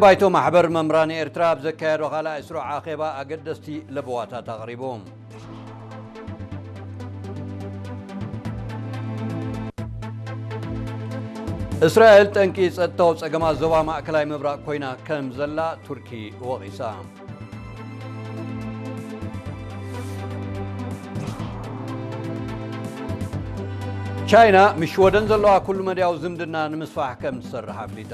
ባይቶ ማሕበር መምህራን ኤርትራ ኣብ ዘካየዶ ካልኣይ ስሩዕ ኣኼባ ኣገደስቲ ለበዋታት ኣቕሪቡ። እስራኤል ጠንቂ ጸጥታዊ ጸገማት ዞባ ማእከላይ ምብራቕ ኮይና ከም ዘላ ቱርኪ ወቒሳ። ቻይና ምስ ሽወደን ዘለዋ ኩሉ መድያዊ ዝምድና ንምስፋሕ ከም ትሰርሕ ኣፍሊጣ።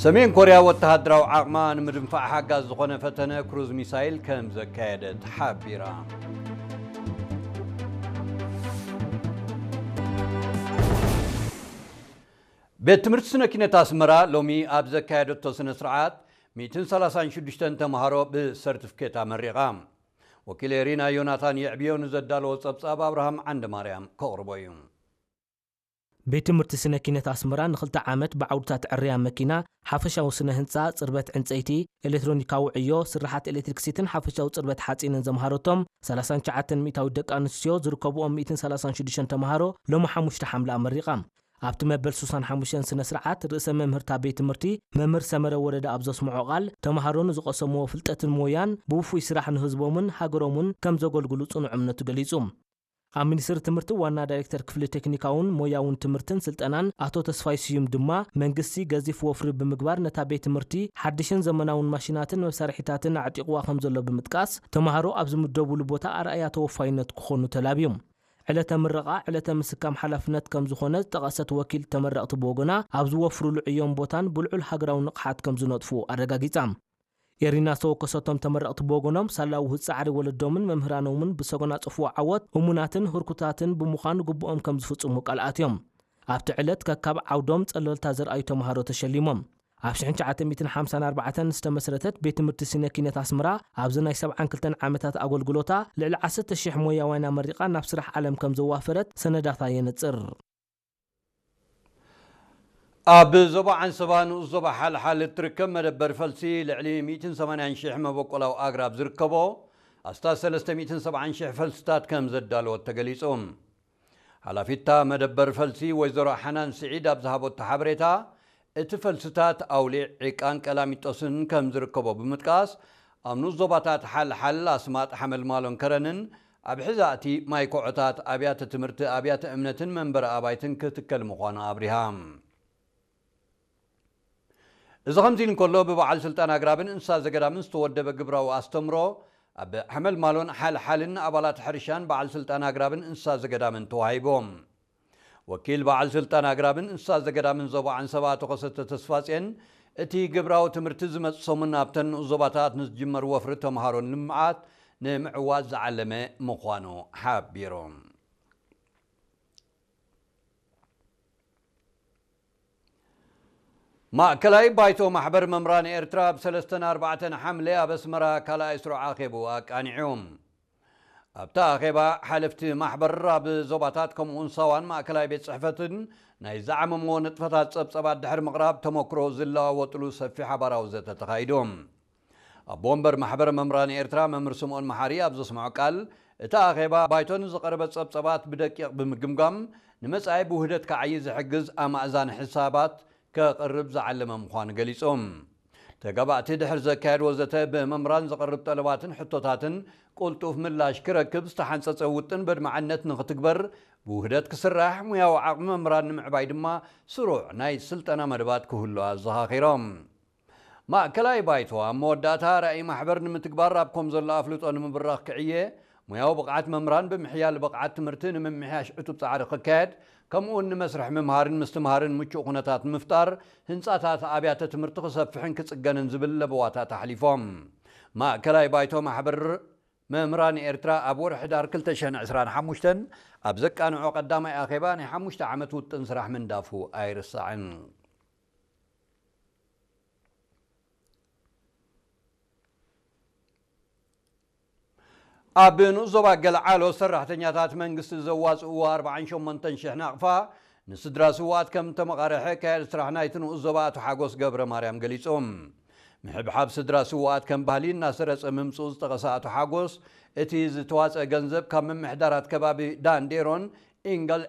ሰሜን ኮርያ ወተሃደራዊ ዓቕማ ንምድንፋዕ ሓጋዝ ዝኾነ ፈተነ ክሩዝ ሚሳይል ከም ዘካየደት ሓቢራ። ቤት ትምህርቲ ስነ ኪነት ኣስመራ ሎሚ ኣብ ዘካየደቶ ስነ ስርዓት ሚእትን ሰላሳን ሽዱሽተን ተምሃሮ ብሰርቲፊኬት ኣመሪቓ። ወኪል ኤሪና ዮናታን የዕብዮ ንዘዳለዎ ጸብጻብ ኣብርሃም ዓንደ ማርያም ከቕርቦ እዩ። ቤት ትምህርቲ ስነ ኪነት ኣስመራ ንኽልተ ዓመት ብዓውድታት ዕርያ መኪና፣ ሓፈሻዊ ስነ ህንጻ፣ ጽርበት ዕንጸይቲ፣ ኤሌክትሮኒካዊ ዕዮ፣ ስርሓት ኤሌክትሪክሲቲን ሓፈሻዊ ጽርበት ሓጺንን ዘምሃረቶም ሰላሳን ትሽዓተን ሚእታዊት ደቂ ኣንስትዮ ዝርከብኦም ሚእትን ሰላሳን ሽዱሽተን ተምሃሮ ሎሚ ሓሙሽተ ሓምለ ኣመሪቓ። ኣብቲ መበል ሱሳን ሓሙሽተን ስነ ስርዓት ርእሰ መምህርታ ቤት ትምህርቲ መምህር ሰመረ ወረደ ኣብ ዘስምዖ ቃል፣ ተምሃሮ ንዝቐሰምዎ ፍልጠትን ሞያን ብውፉይ ስራሕ ንህዝቦምን ሃገሮምን ከም ዘገልግሉ ጽኑዕ እምነቱ ገሊጹ። ኣብ ሚኒስትሪ ትምህርቲ ዋና ዳይሬክተር ክፍሊ ቴክኒካውን ሞያውን ትምህርትን ስልጠናን ኣቶ ተስፋይ ስዩም ድማ፣ መንግስቲ ገዚፍ ወፍሪ ብምግባር ነታ ቤት ትምህርቲ ሓድሽን ዘመናውን ማሽናትን መሳርሒታትን ኣዕጢቕዋ ከም ዘሎ ብምጥቃስ፣ ተምሃሮ ኣብ ዝምደቡሉ ቦታ ኣርኣያ ተወፋይነት ክኾኑ ተላብዮም። ዕለተ ምረቓ ዕለተ ምስካም ሓላፍነት ከም ዝኾነ ዝጠቐሰት ወኪል ተመረቕቲ ብወገና፣ ኣብ ዝወፍሩሉ ዕዮን ቦታን ብልዑል ሃገራዊ ንቕሓት ከም ዝነጥፉ ኣረጋጊጻ። ኤሪና ዝተወከሰቶም ተመረቕቲ ብወገኖም፣ ሳላ ውህዝ ጻዕሪ ወለዶምን መምህራኖምን ብሰጎናጽፍዎ ዓወት እሙናትን ህርኩታትን ብምዃን ግቡኦም ከም ዝፍጽሙ ቃል ኣትዮም። ኣብቲ ዕለት ከካብ ዓውዶም ጸለልታ ዘርኣዩ ተምሃሮ ተሸሊሞም። ኣብ ሽሕን ትሽዓተ ሚእትን ሓምሳን ኣርባዕተን ዝተመስረተት ቤት ትምህርቲ ስነ ኪነት ኣስመራ፣ ኣብዚ ናይ ሰብዓን ክልተን ዓመታት ኣገልግሎታ፣ ልዕሊ ዓሰርተ ሽሕ ሞያውያን ኣመሪቓ ናብ ስራሕ ዓለም ከም ዘዋፈረት ሰነዳታ የነጽር። ኣብ ዞባ ዓንሰባ ንኡስ ዞባ ሓልሓል እትርከብ መደበር ፈልሲ፣ ልዕሊ ሚእትን ሰማንያን ሽሕ መበቆላዊ ኣግራብ ዝርከቦ ኣስታት ሰለስተ ሚእትን ሰብዓን ሽሕ ፈልስታት ከም ዘዳለወት ተገሊጹ። ሓላፊታ መደበር ፈልሲ ወይዘሮ ሓናን ስዒድ ኣብ ዝሃበቶ ሓበሬታ፣ እቲ ፈልስታት ኣውሊዕ፣ ዒቃን ቀላሚጦስን ከም ዝርከቦ ብምጥቃስ፣ ኣብ ንኡስ ዞባታት ሓልሓል፣ ኣስማጥ፣ ሓመልማሎን ከረንን ኣብ ሕዛእቲ ማይ ኮዖታት ኣብያተ ትምህርቲ፣ ኣብያተ እምነትን መንበሪ ኣባይትን ክትከል ምዃኑ ኣብሪሃ። እዚ ከምዚ ኢሉ እንከሎ፣ ብበዓል ስልጣን ኣግራብን እንስሳ ዘገዳምን ዝተወደበ ግብራዊ ኣስተምሮ ኣብ ሓመልማሎን ሓልሓልን ኣባላት ሕርሻን በዓል ስልጣን ኣግራብን እንስሳ ዘገዳምን ተዋሂቦም። ወኪል በዓል ስልጣን ኣግራብን እንስሳ ዘገዳምን ዞባ ዓንሰባ ኣቶ ከሰተ ተስፋጽዮን፣ እቲ ግብራዊ ትምህርቲ ዝመጽእ ሰሙን ኣብተን ንኡስ ዞባታት ንዝጅመር ወፍሪ ተምሃሮን ልምዓት ንምዕዋት ዝዓለመ ምዃኑ ሓቢሩ። ማእከላይ ባይቶ ማሕበር መምህራን ኤርትራ ኣብ ሰለስተን ኣርባዕተን ሓምለ ኣብ ኣስመራ ካልኣይ ስሩዕ ኣኼቡ ኣቃኒዑ። ኣብቲ ኣኼባ፣ ሓለፍቲ ማሕበር ኣብ ዞባታት ከምኡውን ሳዋን ማእከላይ ቤት ጽሕፈትን ናይ ዝዓመምዎ ንጥፈታት ጸብጸባት ድሕሪ ምቕራብ ተመክሮ ዝለዋወጥሉ ሰፊሕ ሓባራዊ ዘተ ተኻይዱ። ኣቦ ወንበር ማሕበር መምህራን ኤርትራ መምህር ስምኦን መሓሪ ኣብ ዘስምዖ ቃል፣ እቲ ኣኼባ ባይቶ ንዝቐረበ ጸብጸባት ብደቂቕ ብምግምጋም፣ ንመጻኢ ብውህደት ክዓዪ ዝሕግዝ ኣማእዛኒ ሕሳባት ከቕርብ ዝዓለመ ምዃኑ ገሊጾም። ተጋባእቲ ድሕሪ ዘካየድዎ ዘተ፣ ብመምህራን ዝቐርብ ጠለባትን ሕቶታትን ቅልጡፍ ምላሽ ክረክብ ዝተሓንጸጸ ውጥን በድማዕነት ንኽትግበር፣ ብውህደት ክስራሕ፣ ሙያዊ ዓቕሚ መምህራን ንምዕባይ ድማ ስሩዕ ናይ ስልጠና መደባት ክህሉ ኣዘኻኺሮም። ማእከላይ ባይቶ ኣብ መወዳእታ፣ ራእይ ማሕበር ንምትግባር ኣብ ከም ዘሎ ኣፍልጦ ንምብራኽ ክዕየ፣ ሙያዊ ብቕዓት መምህራን ብምሕያል ብቕዓት ትምህርቲ ንምምሕያሽ ዕቱብ ጻዕሪ ክካየድ፣ ከምኡውን ንመስርሕ ምምሃርን ምስትምሃርን ምቹእ ኩነታት ንምፍጣር፣ ህንጻታት ኣብያተ ትምህርቲ ክሰፍሕን ክጽገንን ዝብል ለበዋታት ኣሕሊፎም። ማእከላይ ባይቶ ማሕበር መምህራን ኤርትራ ኣብ ወርሒ ሕዳር ክልተ ሽሕን ዕስራን ሓሙሽተን ኣብ ዘቃንዖ ቀዳማይ ኣኼባ ናይ ሓሙሽተ ዓመት ውጥን ስራሕ ምንዳፉ ኣይርሳዕን። ኣብ ንኡስ ዞባ ገልዓሎ ሰራሕተኛታት መንግስቲ ዘዋፅእዎ ኣርባዓን ሸሞንተን ሽሕ ናቕፋ ንስድራ ስውኣት ከም ተመቓርሐ ካየድ ስራሕ ናይቲ ንኡስ ዞባ ኣቶ ሓጎስ ገብረ ማርያም ገሊጹ። ምሕብሓብ ስድራ ስውኣት ከም ባህሊ እናሰረጸ ምምጽኡ ዝጠቐሰ ኣቶ ሓጎስ፣ እቲ ዝተዋጸአ ገንዘብ ካብ ምምሕዳራት ከባቢ ዳንዴሮን ኢንጋል